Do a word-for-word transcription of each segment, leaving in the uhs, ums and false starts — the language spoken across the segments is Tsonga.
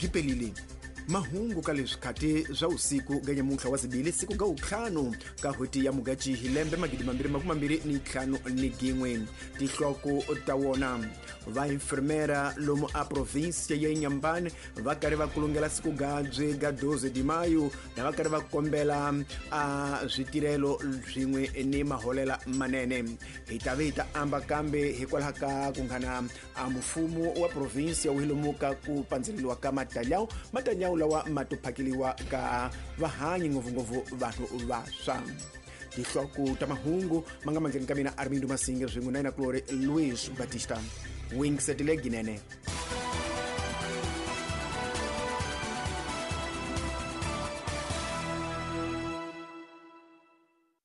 Gipelile mahungu ka leswi khati swa usiku ga nyamuntlha wa zibili siku ga utlhanu ka hweti ya Mugachi hi lembe magidi mambirhi makume mambirhi ni ntlhanu ni gin'we. Tihloko ta wona va enfermera lomu a provinsia ya Inhambane va karhi va kulungela siku gabyi ga doze de maio na va karhi va kombela a switirhelo swin'we ni maholela manene. Hi ta ve hi ta amba kambe hikwalaho ka ku nghana a mfumo wa provinsia wu hilomuka ku pandzeleliwa ka matalyawu matalyawu lawa ma to phakeliwa ka vahanyi ngopfungopfu vanhu vaswa. Tihloko ta mahungu ma nga mandleni ka mina Armindo Masinge swin'we na yena kulori Luis Batista Wingsetile Ginene.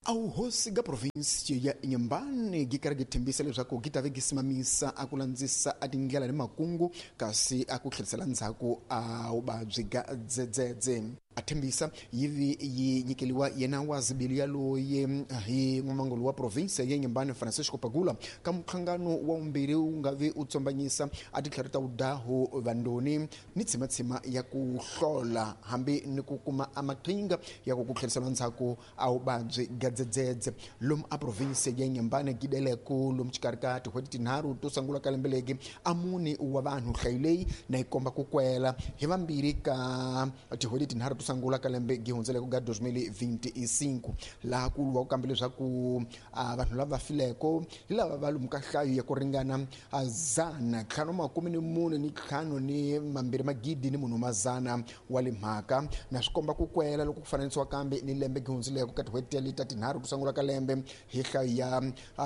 Auhosi ga provinsi ya Inhambane gi karhi gi thembisa leswaku gi ta ve gi simamisa a ku landzisa a tindlela ni makungu kasi a ku tlherisela ndzhaku a vuvabyi ga dzedzedze. A thembisa yi vi yi nyikeliwa yena wa zibili yaloye hi n'wamangolo wa provinsi ya Inhambane Francisco Pagula ka muhlangano wa vumbirhi wu nga vi u tsombanyisa a titlhari ta vudahu vandoni ni tshimatshima ya ku hlola hambi ni ku kuma a maqhinga ya ku ku tlherisela ndzhaku a vuvabyi ga dzedzedze lomu a provinsi ya Inhambane gideleku lomu xikarhi ka tin'hweti tinharhu to sungula ka lembe legi a mune wa vanhu nhlayo leyi na yi komba ku kwela hi vambirhi ka tin'hweti tinharhu to sungula ka lembe gi hundzeleko ga dos mil vinte e cinco laha ku lwa ku kambe leswaku vanhu lava fileko hi lava va lomu ka nhlayo ya ku ringana zana ntlhanu makume ni mune ni ntlhanu ni mambirhi magidi ni munhu mazana wa le mhaka na swi komba ku kwela loko ku fananisiwa kambe ni lembe gi hundzeleko ka tin'hweti leti ta tinharhu to sungula ka lembe hi nhlayo ya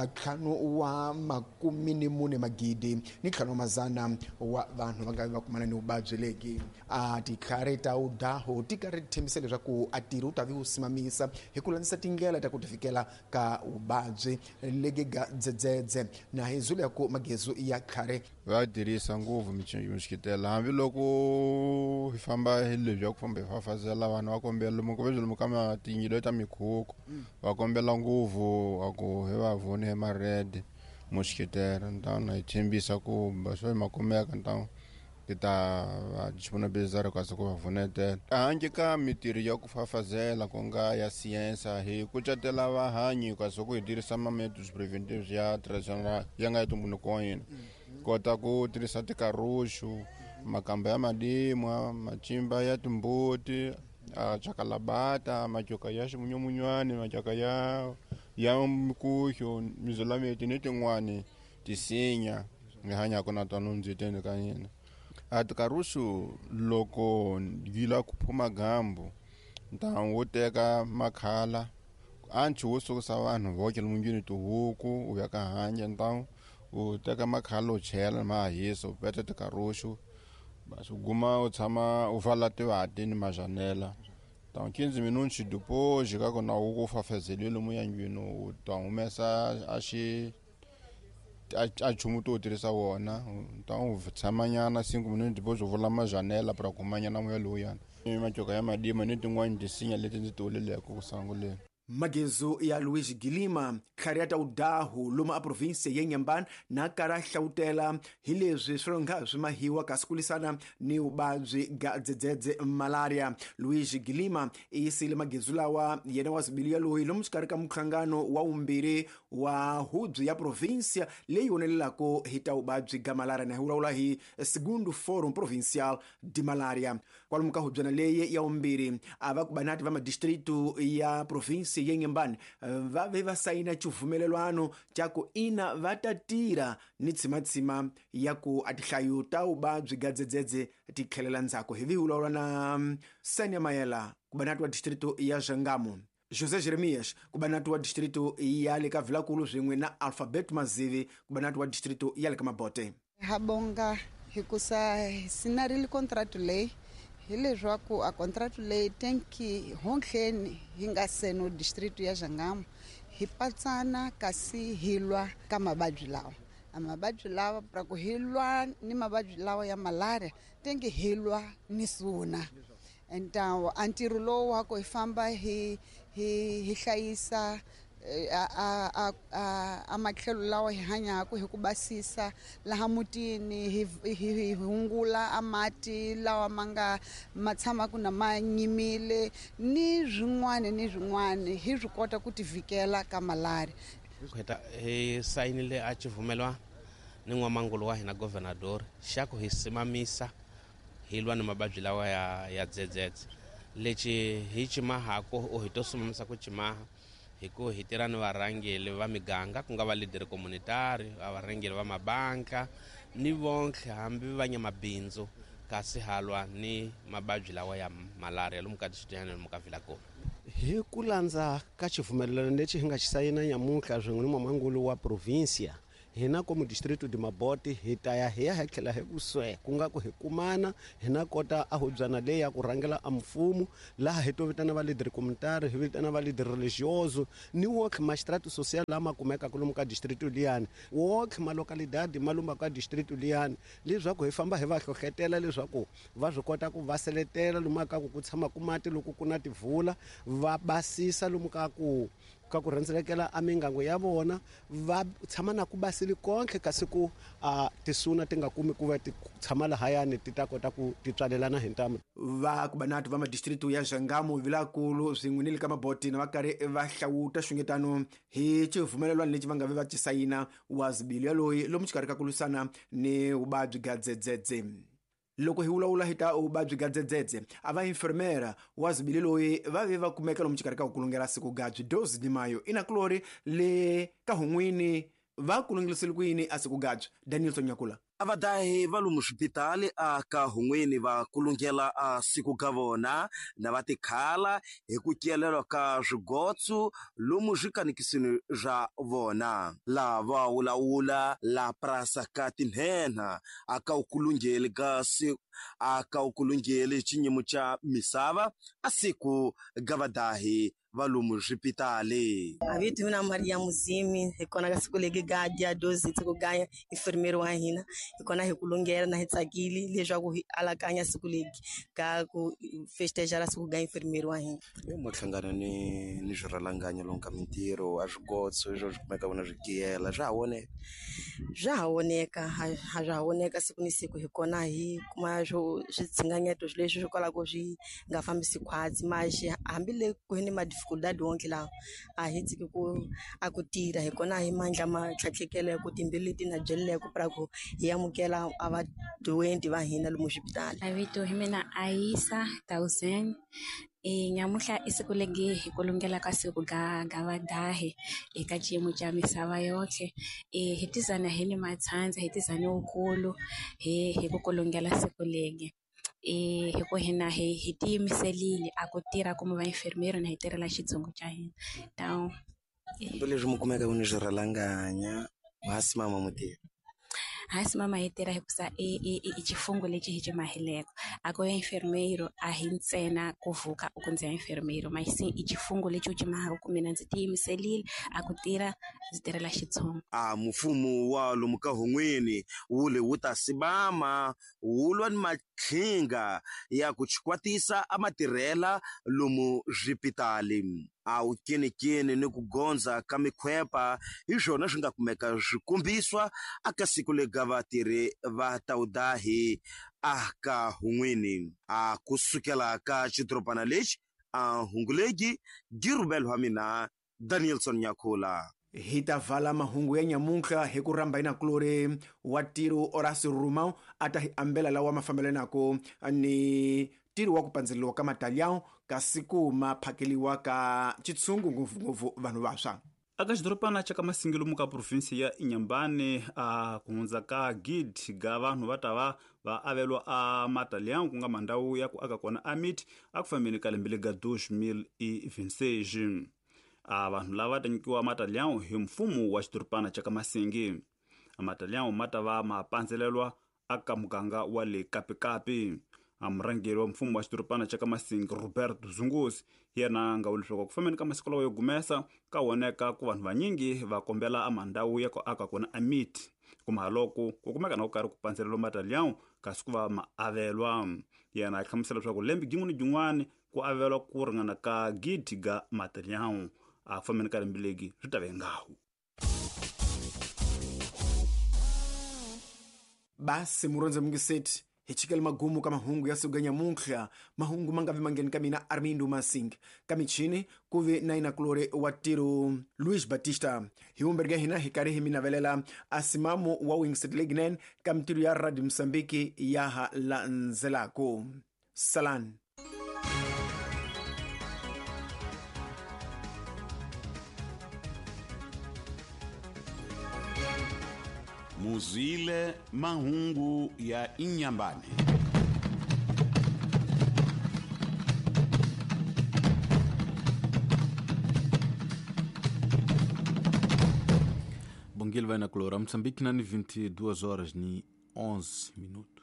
ntlhanu wa makume ni mune magidi ni ntlhanu wa mazana wa vanhu va nga va kumana ni vuvabyi legi. A titlhari ta udaho ti karhi thembisa leswaku a tirhi wu ta vi wu simamisa hi ku landzisa tindlela ta ku tifikela ka vuvabyi legi ga dzedzedze na hi zulu ya ku magezu ya tlhari va tirhisa ngopfu mixikitela hambiloko hi famba hi lebyi ya ku famba hi fafazela vanhu va kombela lomu ku lomu ka matinyilo ta mikhukhu va kombela ngopfu a ku hi va vone hi ma-red moxikitela ntawna hi tshembisa ku swo ma kumeka ntawu ti ta va disponibilizar kasi ku va vunetela handle ka mitirho ya ku fafazela ku nga ya siyensa hi kucetela vahanyi kasi ku hi tirhisa ma-methods preventives ya traditional ya nga ya ntumbuluko wa hina kota ku tirhisa tikaruxu makamba ya madimwa macimba ya timbuti chakalabata majoka ya ximunyamunywani majoka ya ya mikuxo mizulameti ni tin'wani tisinya hi hanyaka na tona ndziteni ka hina. A tikaruxu loko yi lava ku phuma gambu ntamu wo teka makhala anchi wo sukisa vanhu voke lomunjini tihuku u ya ka hanya ntamu u teka makhala u chela ma hisa u peta tikaruxu basi u guma u tshama u vala tivati ni majanela ntamu quinze minutos depois ka kona u ku fafazeliwe lomu yandlwini u ta humesa a xi a nchumu to tirhisa wona ta u tshamanyana cinco minutos depois u vula majanela para kumanyana moya lowuyana majoka ya madima ni tin'wani tisinya leti ndzi ti vuleleke ku sunguleni. Magezu ya Luis Gilima tlhari ya ta udahu lomu a provinsi ya Inhambane na karhi a hlawutela hi leswi swi nga swi mahiwa kasi ku lwisana ni vuvabyi ga dzedzedze malaria. Luis Gilima i yisile magezu lawa yena wa zibili yaloyi lomu xikarhi ka muhlangano wa vumbirhi wa hubyi ya provinsia leyi vonelelaka hi ta vuvabyi ga malaria na hi vulavula hi Segundo Forum Provincial de Malaria. Kwalomu ka hubyana leyi ya vumbirhi a va ku banati va madistritu ya provinsi ya Inhambane va ve va sayina xivumelelwano xa ku ina va ta tirha ni tshimatshima ya ku a tinhlayo ta vuvabyi ga dzedzedze ti tlhelela ndzhaku. Hi vi hi vulavula na Sania Mayela ku banati wa distritu ya Jangamo, José Jeremias ku banati wa distritu ya le ka Vilakulu swin'we na Alphabet Mazivi ku banati wa distritu ya le ka Mabote. Habonga hikusa sinarile contract leyi hileswaku a contract leyi tenki honhleni hi nga seno district ya Jangamo hi patsana kasi hi lwa ka mavabyi lawa a mavabyi lawa pra ku hi lwa ni mavabyi lawa ya malaria tenki hi lwa ni suna entawo a ntirho lowu wa ku hi famba hi hi hi hlayisa a a a a matlhelo lawa hi hanyaka hi ku basisa laha mutini hi hi hungula a mati lawa ma nga ma tshamaka na ma nyimile ni swin'wana ni swin'wana hi swi kota ku tivikela ka malaria. Heta hi sayinile a xivumelwano ni n'wamangulu wa hina governador xa ku hi simamisa hi lwa ni mavabyi lawa ya ya dzedzedze lexi hi cimahako o hi to simamisa ku cimaha hi ku hi tirha ni varhangeli va miganga ku nga va leader communitary va varhangeli va mabanka ni vonke hambi va nyamabindzu kasi halwa ni mavabyi lawa ya malaria lomu ka district lomu ka Vilakoma. Hi ku landza ka xivumelwano lexi hi nga xi sayina nyamuntlha swin'we ni n'wamangulu wa provinsia hina komu distrito de Mabote hi ta ya hi ya hi tlhela hi ku swe ku nga ku hi kumana hina kota a hubyana leyi ya ku rhangela a mfumo laha hi to vitana va leader communitary hi vitana va leader religioso ni wonke magistrato social lama kumekaka lomu ka distrito liyani wonke ma localidade ma lomu ka distrito liyani leswaku hi famba hi va hlohletela leswaku va swi kota ku va seletela lomu ka ku ku tshama ku mati loko ku na tivula va basisa lomu ka ku ka ku rhendzelekela a mingango ya vona va tshama na ku basile konke kasi ku a tisuna ti nga kumi ku va ti tshama lahayani ti ta kota ku ti tswalelana hi ntamu. Va kubanatu va madistritu ya Xangamu Vilakulu swin'we ni le ka Maboti na va karhi va hlawuta xungetano hi xivumelwano lexi va nga ve va xisayina wa zibilo yaloyi lomu xikarhi ka ku lwisana ni vuvabyi bya dzedzedze. Loko hi vulavula hi ta vuvabyi bya dzedzedze a va enfermera wa zibili loyi va ve va kumeka lomu xikarhi ka ku kulungela siku gabyi doze de mayo inakulori le ka hun'wini va kulungelisile ku yini a siku gabyi Danielson Nyakula. A vadahi va lomu swipitali a ka hun'wini va kulungela a siku ka vona na va tikhala hi ku kelelwa ka swigotso lomu swikanikisini swa vona laha va wulawula la prasa ka tinhenha a ka ukulungeli ka a ka ukulungeli xinyimo xa misava a siku ga vadahi va lomu swipitali. A vito mina Maria Muzimi hi kona ka siku legi ga dia doze siku ga enfermeiro wa hina hi kona hi kulungela na hi tsakile leswaku hi alakanya siku legi ga ku festejar siku ga enfermeiro wa hina. E mohlangano ni ni swirhalanganya lomu ka mintirho a swigotso leswo swi kumeka vona swi giyela swa ha voneka swa ha voneka ha swa ha voneka siku ni siku hi kona hi kuma swo switshinganyeto leswi swi kwalako swi nga fambisi khwatsi maxi hambi le ku ni ma dificuldade wonke lawa a hi tshiki ku a ku tirha hi kona hi mandla ma tlhatlhekele ku timbilu leti na byeleleko pra ku hi amukela a va doenti va hina lomu xipitali. A vito hi mina Aisa Thousand e nyamuhla i siku legi hi kulungela ka siku ga ga vadahi eka xiyimo xa misava yohle e hi tizana hi ni matshandza hi tizana wukulu hi hi ku kulungela siku legi e hi ku hina hi hi tiyimiselile a ku tirha kuma va enfermeiro na hi tirhela xitsongo xa hina taw leswi mi kumeka ku ni swirhalanganya hasi mama mutirhi hasi mama hi tirha hikusa i i i xifungo lexi hi xi mahileko a ku ya enfermeiro a hi ntsena ku vuka u ku ndzi ya enfermeiro masi i xifungo lexi u xi mahaka ku mina ndzi tiyimiselile a ku tirha ndzi tirhela xitsongo. A mfumo wa lomu ka hun'wini wu le wu ta sibama wu lwa ni matlhinga ya ku chikwatisa a matirhela lomu swipitali a wu kenikeni ni ku gondza ka mikhwepa hi swona swi nga kumeka swi kombiswa aka siku lega vatirhi va tawudahi a ka hun'wini a kusukela ka xidorobana lexi a hungulegi girubelwa mina Danielson Nyakula. Hi ta vala mahungu ya nyamuntlha hi ku rhamba inakulori wa tiro Horace Rumão a ta hi ambela lawa ma fambelanaka ni tiro wa ku pandzeriwa ka matalhão kasi ku ma phakeliwa ka xitshungu ngopfungopfu vanhu vantshwa. Aka xidorobana xa ka Masingi lomu ka provinsi ya Inhambane a ku hundza ka gidi ga vanhu va ta va va avelwa a matalhão ku nga mandhawu ya ku aka kona a miti a ku fambeni ka lembe lega dois mil e vinte e seis. A vanhu lava ta nyikiwa matalhão hi mfumo wa xidorobana xa ka Masingi. A matalhão ma ta va ma pandzelelwa aka muganga wa le Kapikapi. A murhangeri wa mfumo wa xidorobana xa ka Masingi Roberto Zunguzi hi yena a nga vula leswaku ku fambeni ka masiku lawa yo gumesa ka voneka ku vanhu vanyingi va kombela a mandhawu ya ku aka kona a miti kuma loko ku kumeka na ku karhi ku pandzelelwa matalhão kasi ku va ma avelwa. Yena a hlamusela leswaku lembe gin'wana ni gin'wana ku avelwa ku ringana ka gidi ga matalhão A ku fambeni ka lembe legi swi ta ve ngahu. Basi murondze mungiseti hi chikele magumu ka mahungu ya siku nyamuntlha. Mahungu ma nga vi mangheni ka mina Armindo Masing, ka michini ku vi na inakulori wa tiro Luis Batista. Hi vumbirhi ka hina hi karhi hi mi navelela a simamu wa Wingset Legnan ka mitirho ya Radio Mozambique ya ha landzelako. Salani. Muzile mahungu ya Inhambane. Bom dia, vai na Clora. Moçambique, na vinte e duas horas e onze minutos.